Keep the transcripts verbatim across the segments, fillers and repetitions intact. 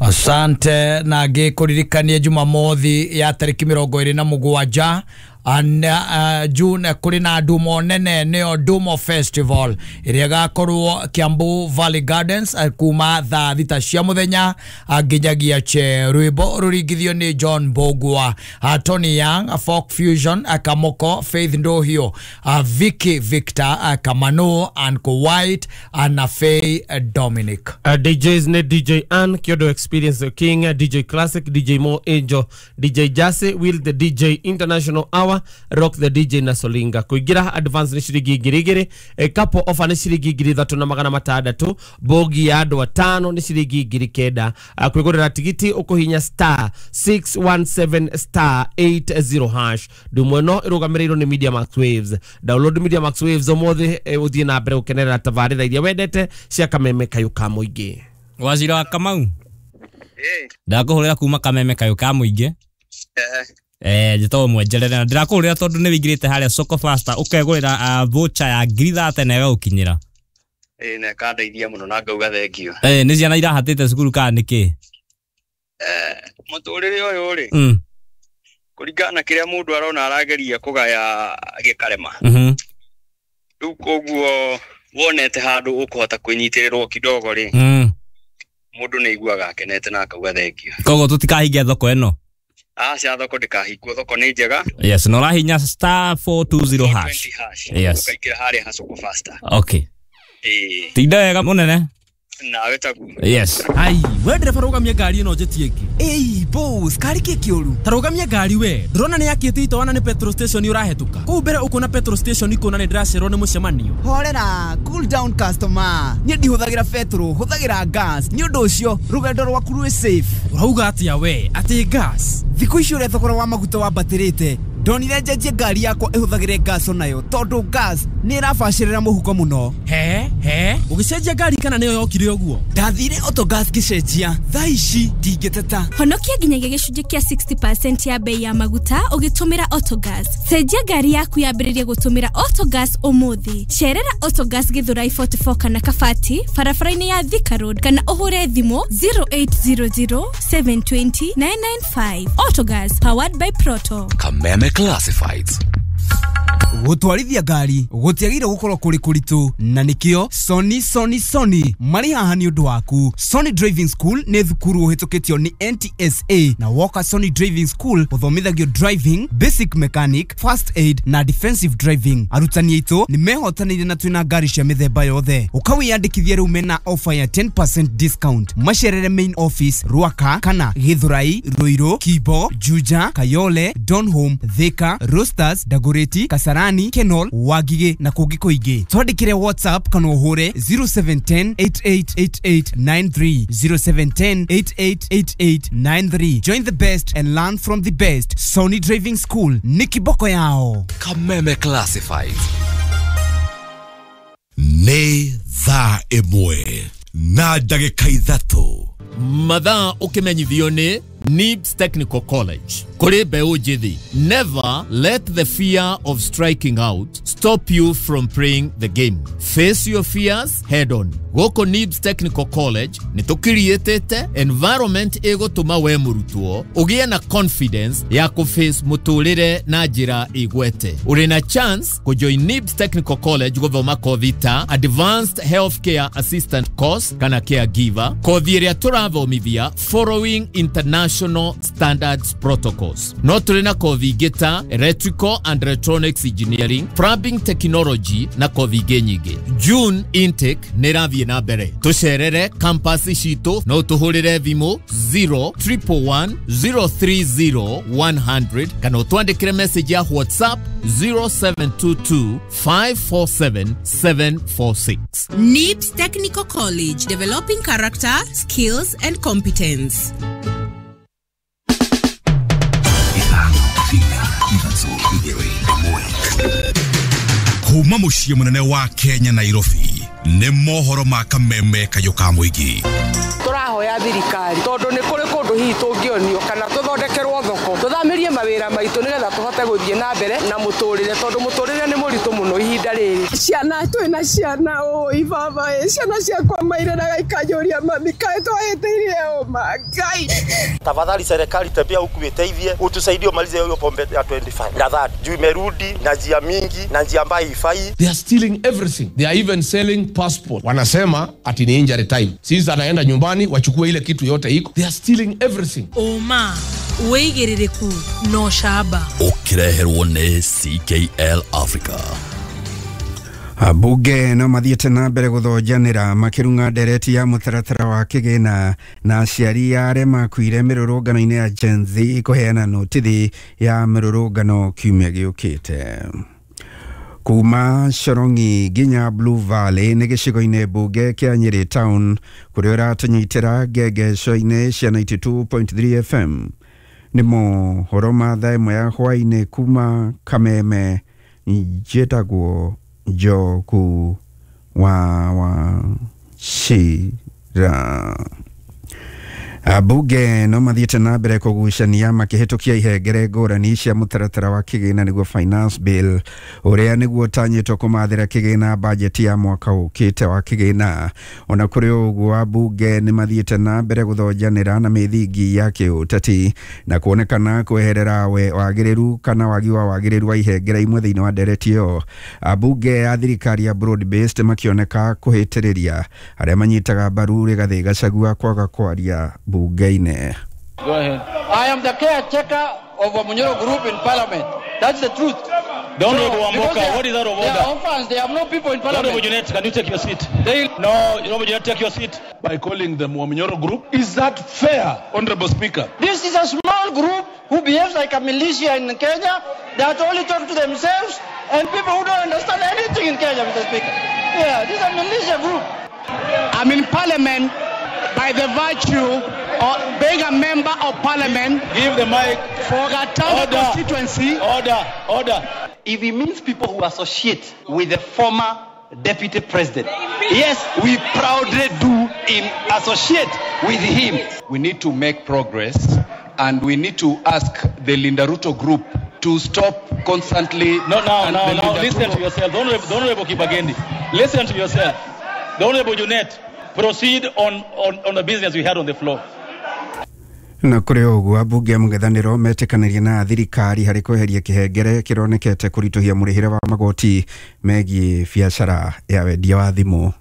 Asante na ngĩkũririkanie Jumamothi ya tarĩki mĩrongo ĩrĩ na mũgwanja and uh, June kũrĩ na ndumo nene nĩyo Ndumo Festival ĩrĩa ĩgakorwo Kiambu Valley Gardens eh, kuma thaa thita cia mũthenya ah, nginyagia che. Rwĩmbo rũringithio nĩ John Mbũgua, uh, Tony Young, uh, Folk Fusion, uh, Kamoko, Faith Ndohio, uh, Vicky Victor, uh, Kamano, Uncle White uh, na Faye uh, Dominic. Uh, D Js nĩ D J Ann, Kyodo Experience the King, uh, D J Classic, D J Mo Angel, D J Jase, Will the D J International Hour, Rock the D J na Solinga. Kuingira advance ni ciringi ngiri igĩrĩ, e, couple offer ni ciringi ngiri ithatũ na magana matandatũ, bogi ya andũ atano ni ciringi ngiri kenda. Uh, kwĩgũrĩra tigiti ũkũhinya star six one seven star eight zero hash. Ndumo ĩno ĩrũgamĩrĩirwo nĩ Media Max Waves. Download Media Max Waves ũmũthĩ, e, ũthiĩ na mbere gũkenerera tabarĩra iria wendete cia Kameme Kayũ ka Mũingĩ. Waziri wa Kamau, ndakũhũrĩra kuma Kameme Kayũ ka Mũingĩ. Eh, njĩtagwo Mwenjerere na ndĩrakũhũrĩra tondũ nĩ wĩingĩrĩte harĩa Soko Faster ũkegũrĩra uh, voucher ya ngiri thate na ĩgagũkinyĩra. Ĩĩ, na ĩkandeithia mũno na ngauga thengio. Eh, nĩ ciana irahatĩte cukuru kana nĩkĩ? Eh, mũtũrĩre ũyũ rĩ, Mm. kũringana na kĩrĩa mũndũ arona arageria kũgaya gĩkarema. Mhm. Rĩu koguo wonete handũ ũkũhota kwĩnyitĩrĩrwo kidogo rĩ, Mm. mũndũ nĩ aiguaga akenete na akauga thengio. Koguo tũtikahingia thoko ĩno. Aca, thoko ndĩkahingwo, thoko nĩ njega. Yes, na ũrahinya star four two zero hash. hash. Yes. Ũkaingĩra harĩa ha Soko Faster. Okay. Ĩĩ. Tinda wega mũnene. Nawe taguo. Yes. Ai, we ndereba rũgamia ngari ĩno njĩtie ĩngĩ. Ĩi, boss, kari kĩ kĩũru? Ta rũgamia ngari we. Ndĩrona nĩ yakĩte itoana nĩ petrol station ũrahetũka. Kũu mbere ũkuona petrol station ikuona nĩ ndĩracererwo nĩ mũcemanio. Horera, cool down customer. Niĩ ndihũthagĩra petrol, hũthagĩra gas. Nĩ ũndũ ũcio, rũgendo rwaku rwĩ safe. Ũrauga atĩa we? Atĩ gas? Thikũ ici ũrĩa thogora wa maguta wambatĩrĩte, ndonire njenjie ngari yakwa ĩhũthagĩre gas onayo tondũ gas nĩ ĩrabacĩrĩra mũhuko mũno. He, he, ũgĩcenjia ngari kana nĩyo yokire ũguo? Ndathire Autogas ngĩcenjia, thaa ici ndingĩteta. Honokia nginyagia gĩcunjĩ kĩa sixty percent ya bei ya maguta ũgĩtũmĩra Autogas. Cenjia ngari yaku yambĩrĩrie gũtũmĩra Autogas ũmũthĩ. Cerera Autogas Githurai forty-four kana Kabati, barabara-inĩ ya Thika Road kana ũhũre thimũ zero eight zero zero seven twenty nine nine five. Autogas, powered by Proto. Kameme Classifieds. Gũtwarithia ngari gũtiagĩrĩire gũkorwo kũrĩ kũritũ, na nĩkĩo Sony Sony Sony marĩ haha nĩ ũndũ waku. Sony Driving School nĩ thukuru ũhĩtũkĩtio nĩ N T S A, na woka Sony Driving School ũthomithagio driving, basic mechanic, first aid na defensive driving. Arutani aitũ nĩ mehotanĩire na twĩna ngari cia mĩthemba yothe. Ũkawĩyandĩkithia rĩu mena offer ya ten percent discount. Macerere main office Ruaka kana Githurai, Ruiru, Kibo, Juja, Kayole, Donholm, Thika, Roasters, Dagoretti, Kasarani, Kenol, Wagige na kũngĩ kũingĩ. Twandĩkĩre WhatsApp kana ũhũre zero seven ten eight eight eight eight nine three, zero seven ten eight eight eight eight nine three. Join the best and learn from the best. Sony Driving School ni kiboko yao. Kameme Classifieds. Nĩ thaa ĩmwe na ndagĩka ithatũ. Mathaa ũkĩmenyithio nĩ Nibs Technical College. Kũrĩ mbeũ njĩthĩ, never let the fear of striking out stop you from playing the game. Face your fears head on. Gũkũ Nibs Technical College nĩ tũkiriĩtĩte environment ĩgũtũma we mũrutwo ũgĩe na confidence ya kũface mũtũrĩre na njĩra ĩgwete. Ũrĩ na chance kũjoin Nibs Technical College gũthoma kothi ta Advanced Healthcare Assistant Course kana Caregiver, kothi ĩrĩa tũrathomithia following international Standards Protocols. No tũrĩ na kothi ingĩ ta Electrical and Electronics Engineering, Plumbing Technology na kothi ingĩ nyingĩ. June intake nĩ ĩrathiĩ na mbere. Tũcerere campus citũ no tũhũrĩre thimũ zero triple one zero three zero one hundred kana ũtwandĩkĩre message ya WhatsApp zero seven two two five four seven seven four six. Nibs Technical College, developing character, skills and competence. Kuma muciĩ mũnene wa Kenya Nairobi nĩ mohoro ma Kameme Kayũ ka Mũingĩ. Tũrahoya Tũrahoya thirikari tondũ nĩ kũrĩ kũndũ hihi tũngĩonio kana tũthondekerwo thoko tũthamĩrie mawĩra maitũ nĩgetha tũhote gũthiĩ na mbere na mũtũrĩre tondũ mũtũrĩre nĩ mũritũ mũno ihinda rĩrĩ. Ciana twĩna ciana ũi baba ĩ ciana ciakwa mairĩraga ikanjũria mami kaĩ twahĩtĩirie ũma Ngai. Tafadhali serikali tembea huku iteithie utusaidie umalize hiyo pombe ya twenty-five na thirty juu imerudi na njia mingi na njia ambayo haifai. They are stealing everything. They are even selling passport. Wanasema ati ni injury time. Sisi anaenda nyumbani wachukue ile kitu yote iko. They are stealing everything. Oma wĩigĩrĩrĩku no camba ũkĩreherwo nĩ C K L Africa. Ambunge no mathiĩte na mbere gũthonjanĩra makĩrung'a ndereti ya mũtaratara wa kĩgĩna na aciari arĩa makuire mĩrũrũngano-inĩ ya Gen Z kũheana notithi ya mĩrũrũngano kiumia gĩũkĩte. Kuma Shyorongi nginya Blue Valley nĩ gĩcigo-inĩ mbunge kĩa Nyeri Town kũrĩa ũratũnyitĩra ngengeco-inĩ cia ninety-two point three F M. Nĩ mohoro ma thaa ĩmwe ya hwaĩ-inĩ kuma Kameme, njĩtagwo Njogu wa Wachira. Ambunge no mathiĩte na mbere kũgucania makĩhĩtũkia ihengere ngũrani cia mũtaratara wa kĩgĩna nĩguo finance bill ũrĩa nĩguo ũtanyĩtwo kũmathĩra kĩgĩna bajeti ya mwaka ũkĩte wa kĩgĩna. Ona kũrĩ ũguo ambunge nĩ mathiĩte na mbere gũthonjanĩra na mĩthingi ya kĩũteti na kuonekana kweherera we wagĩrĩru kana wagi wa wagĩrĩru wa ihengere imwe thĩinĩ wa ndereti ĩyo. Ambunge a thirikari ya broad based makĩoneka kũhĩtĩrĩria arĩa manyitaga mbaru Rigathĩ Gachagua kwaga kwaria bunge-inĩ. Go ahead. I am the caretaker of Wamunyoro group in parliament. That's the truth. Don't so, Wamboka, what is that of order? They are orphans, they have no people in parliament. Honorable Junet, can you take your seat? They... No, Honorable Junet, take your seat. By calling them Wamunyoro group, is that fair, Honorable Speaker? This is a small group who behaves like a militia in Kenya, that only talk to themselves, and people who don't understand anything in Kenya, Mister Speaker. Yeah, this is a militia group. I'm in parliament by the virtue of being a member of parliament. Give the mic. For Gatanga constituency. Order, order. If it means people who associate with the former deputy president, yes, we proudly do in associate with him. We need to make progress, and we need to ask the Linda Ruto group to stop constantly. No, now, now, now, listen to yourself. The Honorable, the Honorable Kibagendi, listen to yourself. The Honorable Junet, proceed on, on, on the business we had on the floor. Na kũrĩ ũguo ambunge a mũng'ethanĩro metĩkanĩria na thirikari harĩ kweheria kĩhengere kĩronekete kũritũhia mũrĩhĩre wa magoti megiĩ biacara ya wendia wa thimũ.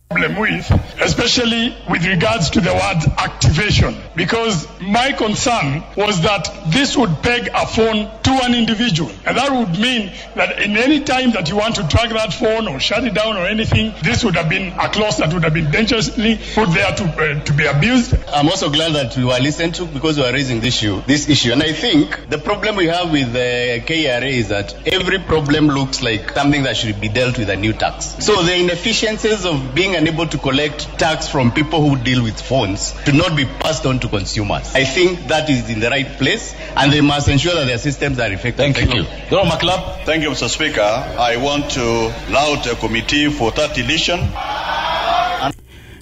Problem with, especially with regards to the word activation, because my concern was that this would peg a phone to an individual, and that would mean that in any time that you want to track that phone or shut it down or anything, this would have been a clause that would have been dangerously put there to, uh, to be abused. I'm also glad that we were listened to, because we are raising this issue, this issue, and I think the problem we have with the K R A is that every problem looks like something that should be dealt with a new tax. So the inefficiencies of being unable to collect tax from people who deal with phones should not be passed on to consumers. I think that is in the right place, and they must ensure that their systems are effective. Thank, Thank you. you. Thank you, Mister Speaker. I want to laud the committee for that deletion.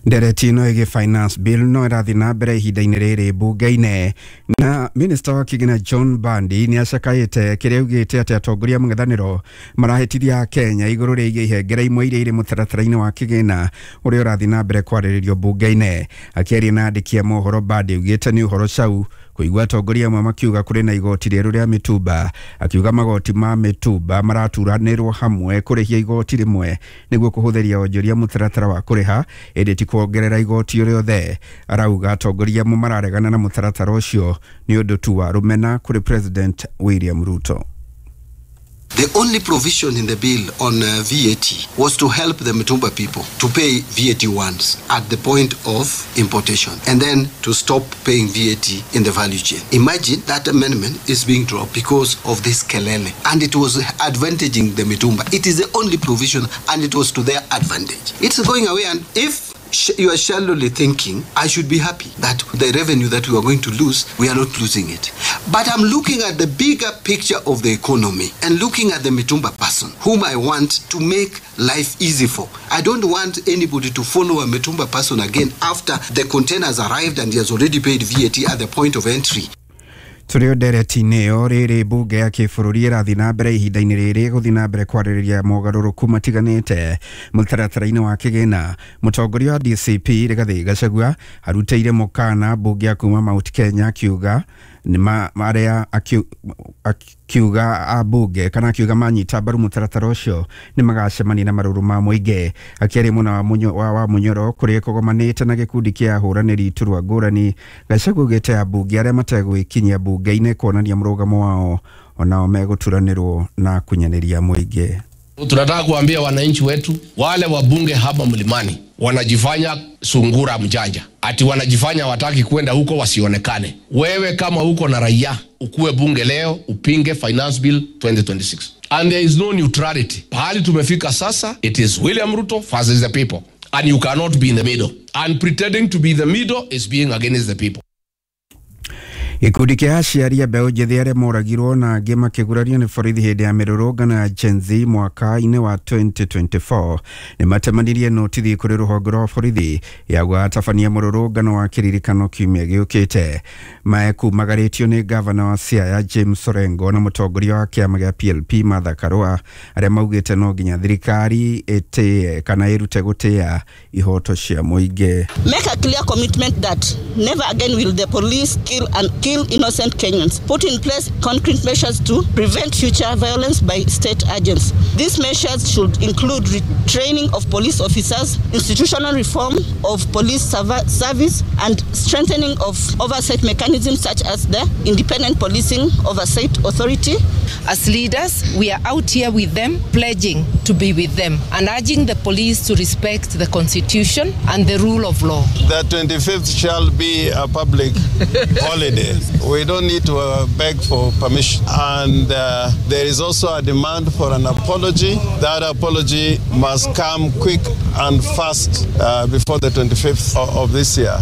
Ndereti ĩno ĩgiĩ finance bill no ĩrathiĩ na mbere ihinda-inĩ rĩrĩ mbunge-inĩ, na minister wa kĩgĩna John Mbadi nĩ acakaĩte kĩrĩa augĩte atĩ atongoria mũng'ethanĩro marahĩtithia Kenya igũrũ rĩgiĩ ihengere imwe iria irĩ mũtaratara-inĩ wa kĩgĩna ũrĩa ũrathiĩ na mbere kwarĩrĩrio mbunge-inĩ. Akĩaria na andĩki a mohoro, Mbadi augĩte nĩ ũhoro cau kũigua atongoria amwe makiuga kũrĩ na igoti rĩerũ rĩa mĩtumba, akiuga magoti ma mĩtumba maraturanĩrwo hamwe kũrĩhia igoti rĩmwe nĩguo kũhũthĩria onjoria mũtaratara wa kũrĩha, ĩndĩ ti kuongerera igoti rĩothe. Arauga atongoria amwe mararegana na mũtaratara ũcio nĩ ũndũ tu wa rũmena kũrĩ President William Ruto. The only provision in the bill on uh, V A T was to help the Mitumba people to pay V A T once at the point of importation and then to stop paying V A T in the value chain. Imagine that amendment is being dropped because of this kelele, and it was advantaging the Mitumba. It is the only provision and it was to their advantage. It's going away, and if you are shallowly thinking, I should be happy that the revenue that we are going to lose, we are not losing it. But I'm looking at the bigger picture of the economy and looking at the Mitumba person whom I want to make life easy for. I don't want anybody to follow a Mitumba person again after the containers arrived and he has already paid V A T at the point of entry. Tũrĩ o ndereti-inĩ ĩyo rĩrĩ mbunge ya kĩbũrũri ĩrathiĩ na mbere ihinda-inĩ rĩrĩ gũthiĩ na mbere kwarĩrĩria mogarũrũku matiganĩte mũtaratara-inĩ wa kĩgĩna. Mũtongoria wa D C P Rigathĩ Gachagua arutĩire mũkana mbunge ya kuma Mount Kenya akiuga nĩ marĩa akiuga ambunge kana akiuga manyita mbaru mũtaratara ũcio nĩ magacemania na marũrũ ma mũingĩ. Akĩaria mwena wa wa Munyoro kũrĩa kũgomanĩte na gĩkundi kĩa ahũranĩri iturwa ngũrani, Gachagua augĩte ambunge arĩa mategwĩkinyia mbunge-inĩ kuonania mũrũgamo wao onao megũturanĩrwo na kunyanĩria mũingĩ. Tunataka kuambia wananchi wetu wale wabunge hapa mlimani wanajifanya sungura mjanja, ati wanajifanya wataki kwenda huko wasionekane. Wewe kama uko na raia ukuwe bunge leo upinge Finance Bill twenty twenty-six. And there is no neutrality. Pahali tumefika sasa, it is William Ruto versus the people, and you cannot be in the middle. And pretending to be the middle is being against the people. Gĩkundi kĩa aciari a mbeũ njĩthĩ arĩa moragirwo na angĩ makĩgurario nĩ borithi hĩndĩ ya mĩrũrũngano ya Gen Z mwaka-inĩ wa twenty twenty-four nĩ matemanirie notithi kũrĩ rũhonge rwa borithi ya gũgatabania mũrũrũngano wa kĩririkano kiumia gĩũkĩte. Mekumagarĩtio nĩ gavana wa Siaya James Orengo na mũtongoria wa kĩama gĩa P L P Martha Karua arĩa maugĩte no nginya thirikari ĩtĩe kana ĩrute gũtĩa ihoto cia mũingĩ. Make a clear commitment that never again will the police kill and kill innocent Kenyans. Put in place concrete measures to prevent future violence by state agents. These measures should include retraining of police officers, institutional reform of police service, and strengthening of oversight mechanisms such as the Independent Policing Oversight Authority. As leaders, we are out here with them, pledging to be with them and urging the police to respect the Constitution and the rule of law. The twenty-fifth shall be a public holiday. We don't need to uh, beg for permission. And uh, there is also a demand for an apology. That apology must come quick and fast uh, before the twenty-fifth of, of this year.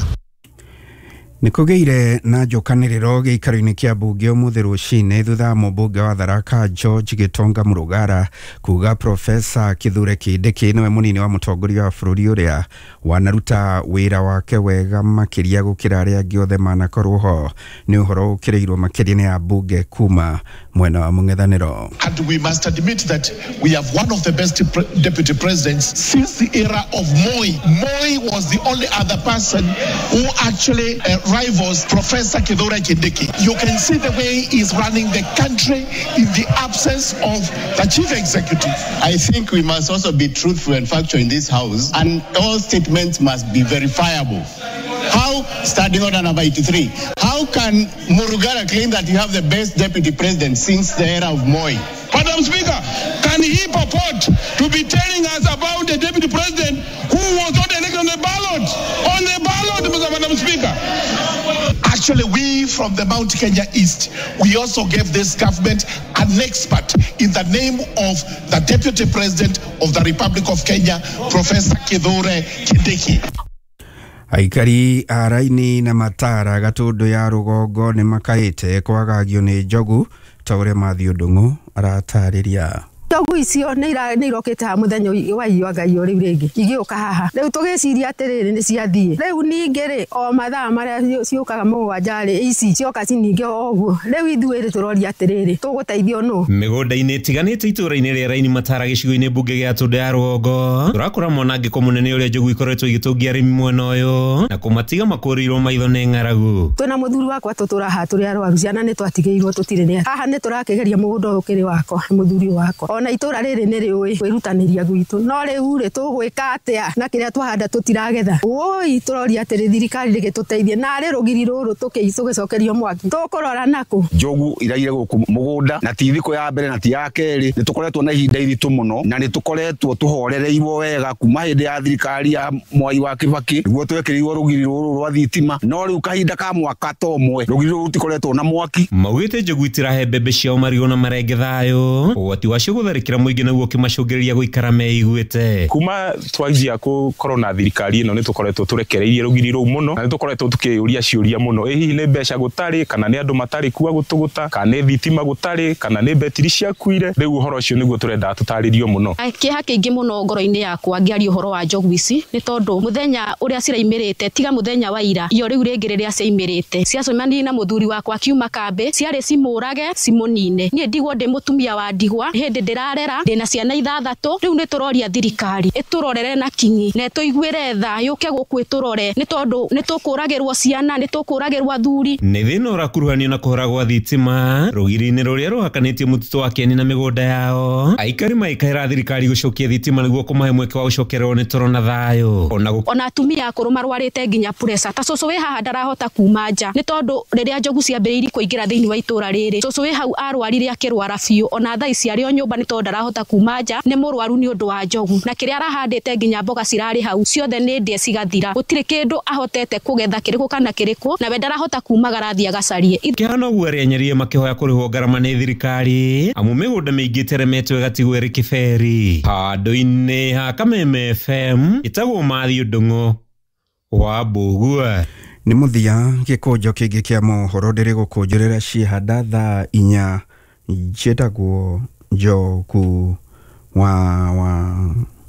Nĩkũgĩire na njũkanĩrĩro gĩikaro-inĩ kĩa mbunge ũmũthĩ rũcinĩ thutha wa mũmbunge wa Tharaka George Gitonga Mũrugara kuga Profesa Kithure Kindiki nĩwe mũnini wa mũtongoria wa bũrũri ũrĩa wanaruta wĩra wake wega makĩria gũkĩra arĩa angĩ othe manakorwo ho. Nĩ ũhoro ũkĩrĩirwo makĩria nĩ ambunge kuma mwena wa mũng'ethanĩro. And we must admit that we have one of the best pre deputy presidents since the era of Moi. Moi was the only other person who actually uh, rivals Professor Kithure Kindiki. You can see the way he's running the country in the absence of the chief executive. I think we must also be truthful and factual in this house, and all statements must be verifiable. How, standing order number eighty-three, how can Murugara claim that you have the best deputy president since the era of Moi? Madam Speaker, can he purport to be telling us about the deputy president who was not elected on the ballot? On the ballot, Madam Speaker. Actually, we from the Mount Kenya East, we also gave this government an expert in the name of the Deputy President of the Republic of Kenya, Professor Kithure Kindiki. Aikari a Raini na Matara Gatũndũ ya rũgongo nĩ makaĩte kwagagio nĩ njogu ta ũrĩa Mathiũ Ndung'u aratarĩria. Njogu icio nĩ irokĩte haha mũthenya wa irio Ngai rĩu rĩngĩ igĩũka haha rĩu tũgĩciria atĩrĩrĩ nĩ ciathiĩ rĩu ningĩ rĩ o mathaa marĩa ciũkaga mũgwanja rĩ ici cioka ciningĩ o ũguo rĩu ithuĩ rĩ tũroria atĩrĩrĩ tũgũteithio nũ. Mĩgũnda-inĩ ĩtiganĩte itũũra-inĩ rĩa Raini Matara gĩcigo-inĩ mbunge gĩa Tũndũ ya rũgongo tũrakora mwanangĩko mũnene ũrĩa njogu ikoretwo igĩtũngia arĩmi mwena ũyũ na kũmatiga makũrĩirwo maitho nĩ ng'aragu. Twĩna mũthuri wakwa tũtũra haha tũrĩ arwaru ciana nĩ twatigĩirwo tũtirĩ nĩ haha nĩ tũrakĩgeria mũgũnda ũyũ ũkĩrĩ wakwa mũthuri wakwa ona itũra rĩrĩ nĩ rĩũĩ kwĩrutanĩria gwitũ no rĩu rĩ tũgwĩka atĩa na kĩrĩa twahanda tũtiragetha woi tũroria atĩrĩ thirikari rĩgĩtũteithie narĩ rũgiri rũrũ tũgĩcokerio mwaki tũkũrora nakũ. Njogu iraire gũkũ mũgũnda na ti thikũ ya mbere na ti ya kerĩ nĩ tũkoretwo na ihinda iritũ mũno na nĩ tũkoretwo tũhorereirwo wega kuma hĩndĩ ya thirikari ya Mwai wa Kibaki nĩguo twekĩrirwo rũgiri rũrũ rwa thitima no rĩu kahinda ka mwaka ta ũmwe rũgiri rũrũ rũtikoretwo na mwaki. Maugĩte njogu itirahe mbembe ciao marigũ na marenge thayũ ũgwati wacio ũgĩtharĩkĩra mũingĩ naguo ũkĩmacũngĩrĩria gũikara meiguĩte. Kuma twanjia gũkorwo na thirikari ĩno nĩ tũkoretwo tũrekereirie rũgiri rũu mũno na nĩ tũkoretwo tũkĩyũria ciũria mũno, ĩ hihi nĩ mbeca gũtarĩ kana nĩ andũ matarĩ kuo gũtũgũta kana nĩ thitima gũtarĩ kana nĩ betiri ciakuire. Rĩu ũhoro ũcio nĩguo tũrenda tũtarĩrio mũno. Kĩeha kĩingĩ mũno ngoro-inĩ yakwa ngĩaria ũhoro wa njogu ici nĩ tondũ mũthenya ũrĩa ciraimĩrĩte tiga mũthenya wa ira iyo rĩu rĩngĩ rĩrĩa ciaimĩrĩte ciacemanirie na mũthuri wakwa akiuma kambĩ ciarĩ cimũrage cimũnine. Niĩ ndigwo ndĩ mũtumia wa ndigwa hĩndĩ ndĩrarera ndĩna ciana ithathatũ. Rĩu nĩ tũroria thirikari ĩtũrorere na kinyi na ĩtũiguĩre tha yũke gũkũ ĩtũrore nĩ tondũ nĩ tũkũragĩrwo ciana nĩ tũkũragĩrwo athuri. Nĩ thĩna ũrakuruhanio na kũhora gwa thitima rũgiri-inĩ rũrĩa rũhakanĩtie mũtitũ wa Kieni na mĩgũnda yao. Aikari maikaĩra thirikari gũcokia thitima nĩguo kũmahe mweke wa gũcokererwo nĩ toro na thayũ. Ona ona atumia akũrũ marwarĩte nginya pressure ta cũcũ wĩ haha ndarahota kuma nja nĩ tondũ rĩrĩa njogu ciambĩrĩirie kũingĩra thĩinĩ wa itũra rĩrĩ cũcũ wĩ hau arwarire akĩrwara biũ ona thaa ici arĩ o nyũmba nĩ tondũ ndarahota kuma nja nĩ mũrwaru nĩ ũndũ wa njogu na kĩrĩa arahandĩte nginya mboga cirarĩ hau ciothe nĩ ndĩe cigathira gũtirĩ kĩndũ ahotete kũgetha kĩrĩkũ kana kĩrĩkũ nawe ndarahota kumagara athiĩ agacarie. Kĩhano ũguo arĩa nyerie makĩhoya kũrĩhwo ngarama nĩ thirikari amu mĩgũnda mĩingĩ ĩteremetwo ĩgatigwo ĩrĩ kĩberi. Handũ-inĩ ha Kameme F M ĩtagwo Mathiũ Ndung'u wa Mbũgua. Nĩ mũthia gĩkũnjo kĩngĩ kĩa mohoro ndĩrĩ gũkũnjũrĩra ciĩhanda thaa inya njĩtagwo Njogu wa wa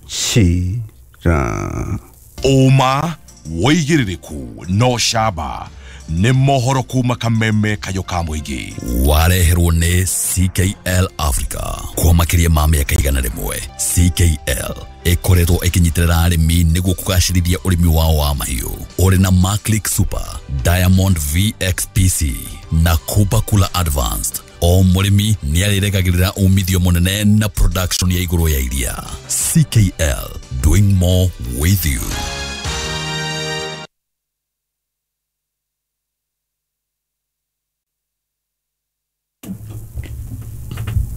Cira. Ũma wĩigĩrĩrĩku no camba nĩ mohoro kuma Kameme kayo ka mũingĩ wareherwo nĩ C K L Africa kwa makĩria ma mĩaka igana rĩmwe. C K L ĩkoretwo ĩkĩnyitĩrĩra arĩmi nĩguo kũgacĩrithia ũrĩmi wao wa mahiũ ũrĩ na Maclick Super, Diamond V X P C na Kupa Kula Advanced. O mũrĩmi nĩ arĩregagĩrĩra umithio mũnene na production ya igũrũ ya iria. C K L, doing more with you.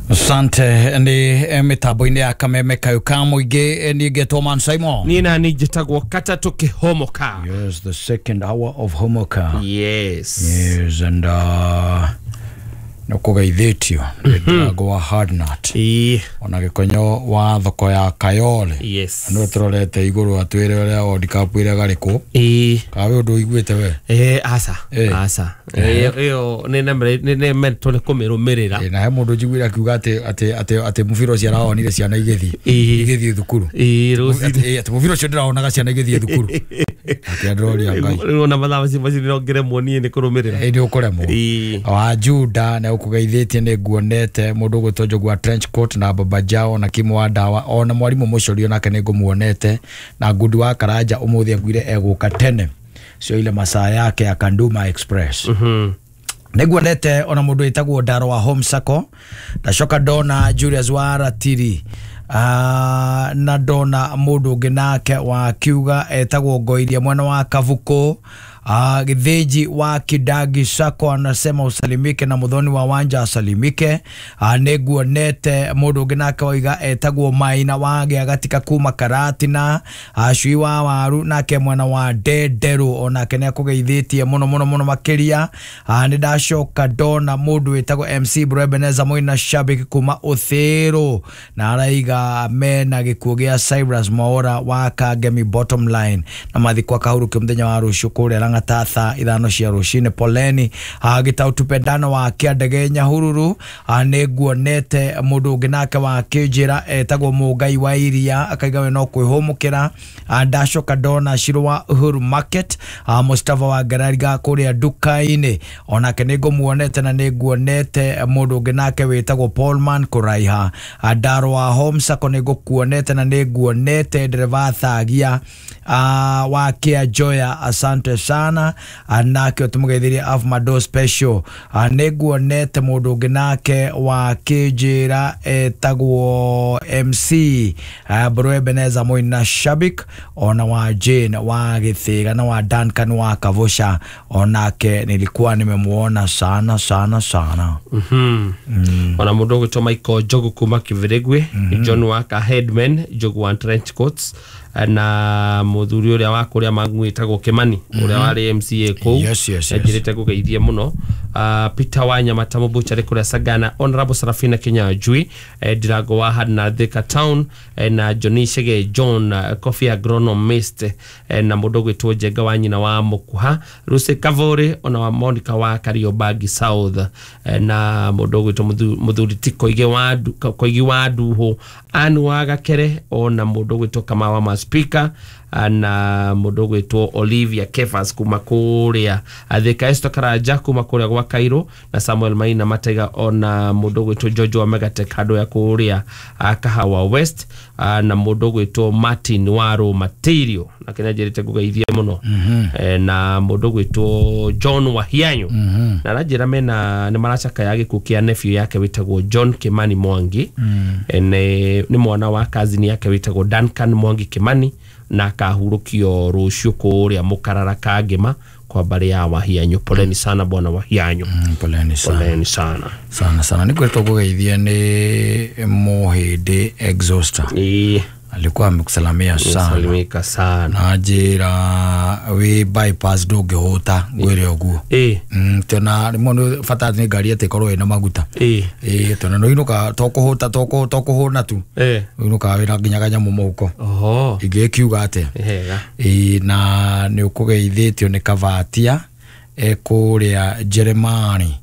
Asante ni mitambo-inĩ ya Kameme kayo ka mũingĩ niĩ ngetwo Man Simon. Niĩ na niĩ njĩtagwo Katatũ Kĩhomoka. Yes, the second hour of Homoka. Yes. Yes, and uh nĩkũgeithĩtio nĩ Ndĩrango wa Hardnut ona Gĩkonyo wa thoko ya Kayole. Yes. Nĩwe tũrorete igũrũ atwĩre ũrĩa World Cup ĩrĩa garĩkũ. Ka we ũndũ ũiguĩte we? Eh, aca aca ĩyo nĩ mentwo nĩ kũmĩrũmĩrĩra. Na he mũndũ njiguire akiuga atĩ atĩ atĩ atĩ mũbira ũcio araonire ciana igĩthiĩ igĩthiĩ thukuru. Atĩ mũbira ũcio ndĩraonaga ciana igĩthiĩ thukuru. Atĩ ndĩroria Ngai. Rĩu ona mathaa macio macio nĩrongeremwo niĩ nĩ kũrũmĩrĩra. Ĩ nĩ ũkũremwo. Wa Juda nĩ ũkũgeithĩtie nĩ nguonete mũndũ ũgwĩtwo Njogu wa trench coat na Baba Jao na Kimu wa ndawa ona mwarimũ mũcorio nake nĩ ngũmuonete na Ngundi wa Karanja ũmũthĩ anguire egũka tene cio ile masaa yake ya Kanduma Express. Mhm. Nĩguonete ona mũndũ wĩtagwo Ndaro wa Home Sacco ndacoka ndona Julius wa Ratiri Uh, na ndona mũndũ ũngĩ nake wa kiuga etagwo Ngoiria mwena wa Kavuko. Uh, Githinji wa Kidagi Sacco anasema usalimike na Muthoni wa Wanja asalimike. Uh, nĩguonete mũndũ ũngĩ nake waiga etagwo Maina wa Gĩagatika kuma Karatina. Uh, Cui wa Waru nake mwena wa Ndenderũ onake nĩakũgeithĩtie mũno mũno mũno makĩria. Uh, nĩ ndacoka ndona mũndũ wĩtagwo M C Bro Ebeneza Moina Shabiki kuma Ũthĩrũ na araiga mena gĩkuũ gĩa Cyrus Mwaura wa Kangemi bottom line na mathikwa kahurũkio mũthenya wa rũciũ kũrĩa Lang'ata thaa ithano cia rũcinĩ. Poleni Gĩtau Tupendano wa Kĩandege Nyahururu. Nĩ nguonete mũndũ ũngĩ nake wa Kĩnjĩra etagwo Mũngai wa Iria akaiga we no kwĩhũmũkĩra. Ndacoka ndona Shiro wa Uhuru Market, Mustafa wa Ngarariga kũrĩa nduka-inĩ onake nĩ ngũmuonete na nĩ nguonete mũndũ ũngĩ nake wĩtagwo Paulman Kũraiha. Ndaro wa Home Sacco nĩ ngũkuonete na nĩ nguonete ndereba Thagia wa Kia Joya, asante sana nake tumugeithirie Afmado special. Nĩ nguonete mũndũ ũngĩ nake wa Kĩnjĩra etagwo M C Bro Ebeneza Moina Shabik ona wa Jane wa Gĩthĩga na wa Duncan wa Kavusha onake nilikuwa nimemuona sana sana sana. Mhm. Mm. Ona mũndũ ũgwĩtwo Michael Njogu kuma Kĩbĩrĩgwe, mm -hmm. John Waka Headman Njogu wa trench coats. Na muthuri uria wa kuria magwitagwo Kimani uria wari M C A kuu. Yes, yes, yes. Njirite ngugeithie muno. Uh, Peter Wanyama Tamubuchari kuria Sagana, Honorable Sarafina Kinyanjui, eh, Dirago wa Hadna Thika Town, eh, na Johnny Shege John, uh, Coffee Agronomist, eh, na mundu gwitwo Njenga wa nyina wa Mukuha, Lucy Kavore ona wa Monica wa Kariobangi South, eh, na mundu gwitwo muthuri ti Koigi wa Koigi wa Nduhu, Anu wa Gakere ona mundu gwitwo Kamawa ma Speaker, na mundu gwitwo Olivia Kefas kuma kuria Thika, Esther Karanja kuma kuria gwa Cairo, na Samuel Maina Matega ona mundu gwitwo George wa Megatech handu ya kuria Kahawa West, na mundu gwitwo Martin Waro Material na kenya njirite ngugeithie muno. Mm -hmm. Na mundu gwitwo John Wahianyo. Mm -hmm. Na ranjira mena ni maracaka ya gikuo kia nephew yake witagwo John Kimani Mwangi. Mm -hmm. Ni, ni mwana wa cousin yake witagwo Duncan Mwangi Kimani, na akahurukio rucio kuria Mukarara Kangema kwa bari ya Wahianyo. Poleni sana bwana Wahianyo. Mm, poleni sana. Poleni sana. Sana sana. Ni kwetu kugeithia ni Mohede Exhauster. Eh. Alikuwa amekusalamia sana. Salimika sana. Na njira we bypass ndũngĩhũta ngwĩre ũguo. Eh. Mm, tena rĩmwe nĩ bata nĩ ngari ĩtĩ ĩkorwo ĩna maguta. Eh. Eh, tena no inũka to kũhũta to kũ to kũhũna tu. Eh. Inũka wĩna nginya kanyamũ mũhuko. Oho. Ingĩkiuga atĩa? Hega. Eh, na nĩ ũkũgeithĩtio nĩ Kavatia ekũrĩa Jeremani,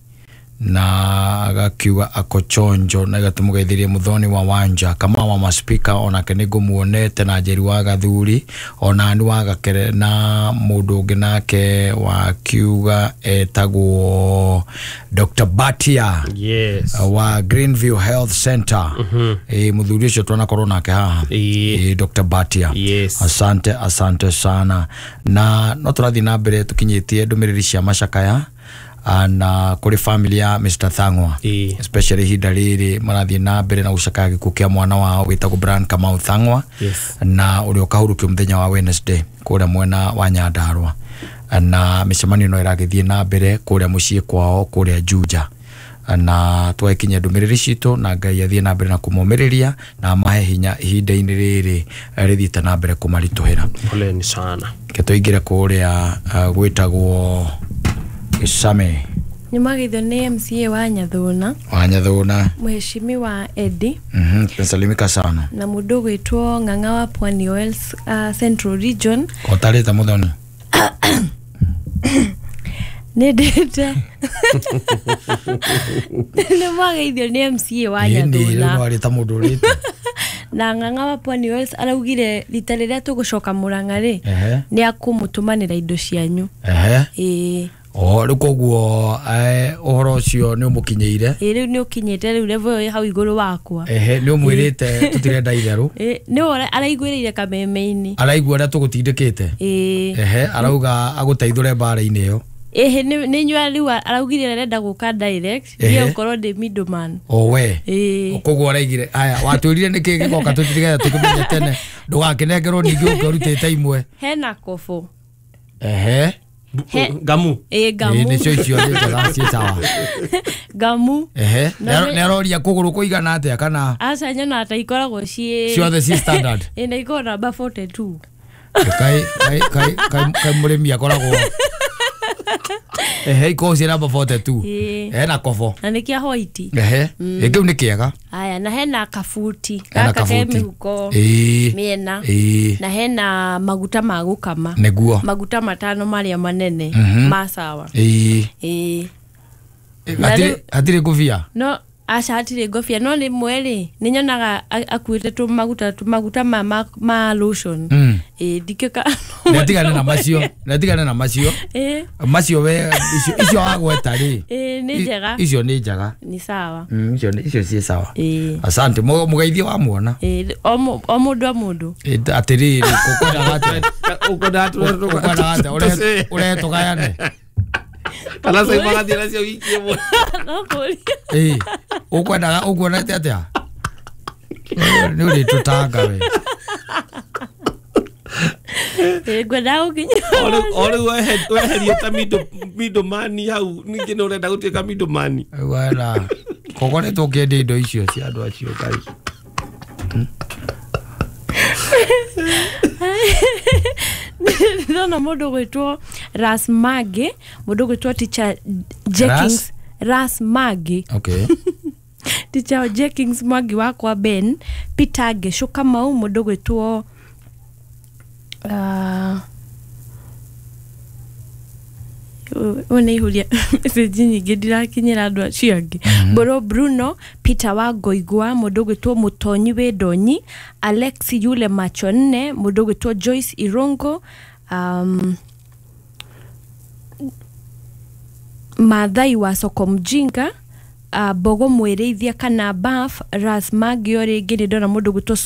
na agakiuga akochonjo na gatumugeithirie muthoni wa Wanja kama wa maspika onake nĩ ngũmuonete na Njeri wa Gathuri ona ni wa Gakere na mundu ũngĩ nake wakiuga etagwo Doctor Batia. Yes. Wa Greenview Health Center. Mm -hmm. E, muthuri ũcio twanakorwo nake haha. E. E, Doctor Batia. Yes. Asante, asante sana. Na no tũrathiĩ na mbere tũkinyĩtie ndũmĩrĩri cia macakaya na kuri family ya Mister Thang'wa. E. Especially ihinda rĩrĩ marathiĩ na mbere na gũcakaya gĩkuũ kĩa mwana wao wĩtagwo Brian Kamau Thang'wa. Yes. Na ũrĩa ũkahurũkio mũthenya wa Wednesday kũrĩa mwena wa Nyandarua, na mĩcemanio no ĩragĩthiĩ na mbere kũrĩa mũciĩ kwao kũrĩa Juja, na twakinya ndũmĩrĩri citũ na Ngai athiĩ na mbere na kũmomĩrĩria na amahe hinya ihinda-inĩ rĩrĩ rĩthiĩte na mbere kũmaritũhĩra. Poleni sana. Ke tũingĩre kũrĩa uh, gwĩtagwo Isame. Nĩmageithio nĩ M C A wa Nyathuna. Wa Nyathuna. Mheshimiwa Eddie. Mhm, tunasalimika sana. Na mundu gwitwo Ng'ang'a wa Pwani Oils uh, Central Region. Otarĩte muthoni. Nĩ ndĩte. Nĩmageithio nĩ M C A wa Nyathuna. Ĩni rĩu nĩwarĩta mũndũ ũrĩte. Na Ng'ang'a wa Pwani Oils araugire rita rĩrĩa tũgũcoka Murang'a rĩ, nĩ akũmũtũmanĩra indo cianyu. Ehe. Ĩĩ. O rĩu koguo ũhoro ũcio nĩ ũmũkinyĩire. Ĩĩ rĩu nĩ ũkinyĩte rĩu level ĩyo ĩ hau igũrũ wakwa. Ehe, nĩ ũmwĩrĩte tũtirenda itherũ. Ĩĩ, nĩwe araiguĩrĩire kameme-inĩ. Araigua ũrĩa tũgũtindĩkĩte. Ĩĩ. Ehe, arauga agũteithũre mbara-inĩ ĩyo. Ehe, nĩ nyua rĩu araugire arenda gũka direct, niĩ ngorwo ndĩ middleman. O we. Ĩĩ. Koguo araigire aya watwĩrire nĩkĩ gĩgoka tũtirigete tũkĩmenye tene ndũgakĩnengerwo ningĩ ũke ũrutĩte imwe. Hena kobo. Ehe. He, Gamu. Eh, gamu. Ĩ nĩcio icio nĩ njega ciĩ sawa. Gamu. Ehe. Nĩ aroria kũgũrũ kũigana atĩa kana? Aca nyona ta ikoragwo ciĩ ciothe ciĩ standard. Ĩ na ikoragwo namba forty two. Kai kai kai kai kai mũrĩmi akoragwo. Ehe, ikoragwo ciĩ namba forty two. Ĩ. Hena kobo. Na nĩ kĩa white. Ehe. Ĩ kĩu nĩ kĩega. Aya, na hena kabuti. Gaka ke mĩhuko mĩena. Na hena maguta ma gũkama. Nĩguo. Maguta matano marĩa manene ma sawa. Ĩĩ. Ĩĩ. Hatirĩ hatirĩ ngũbia? No, aca hatirĩ ngũbia no rĩmwe rĩ nĩ nyonaga akuĩte tũmaguta tũmaguta ma ma, ma lotion. Ĩĩ ndikĩka. Ndetigane na macio, ndetigane na macio. Ĩĩ. Macio we icio icio wagweta rĩ. Ĩĩ nĩ njega. Icio nĩ njega. Ni sawa. Mm, icio nĩ icio ciĩ sawa. Ĩĩ. Asante, mũgeithio wa muona. Ĩĩ, o o mũndũ o mũndũ. Ĩĩ atĩrĩrĩ, ũkwendaga atĩa? Ũkwendaga atĩa? Ũrehe tũgayane. Kana sai magathiĩ nacio wiki ĩmwe. No kũria. Ĩĩ, ũkwendaga ũkuonete atĩa? Nĩ ũrĩtũtanga we. Ĩĩ ngwendaga gũkinya. O rĩu weherie ta middleman hau ningĩ nĩ ũrenda gũtuĩka middleman. Wena kogoretwo ũkĩendia indo icio cia andũ acio Ngai. Ndona mũndũ gwĩtwo Ras Mage, mũndũ gwĩtwo Teacher Jenkins Ras Mage. Okay. Teacher Jenkins Mwangi wakwa Ben Peter Gesho Kamau, mũndũ gwĩtwo uh, one ihuria message nyingĩ ndirakinyĩra andũ acio angĩ. Boro Bruno Peter wa Ngoigwa, mũndũ gwĩtwo Mũtonyi wĩ Ndonyi, Alex Yule Macho nne, mũndũ gwĩtwo Joyce Irongo, um, Mathai wa Soko Mjinga, uh, Bogo Mwĩrĩithia kana Baf Ras Magio rĩngĩ nĩ ndona mũndũ gwĩtwo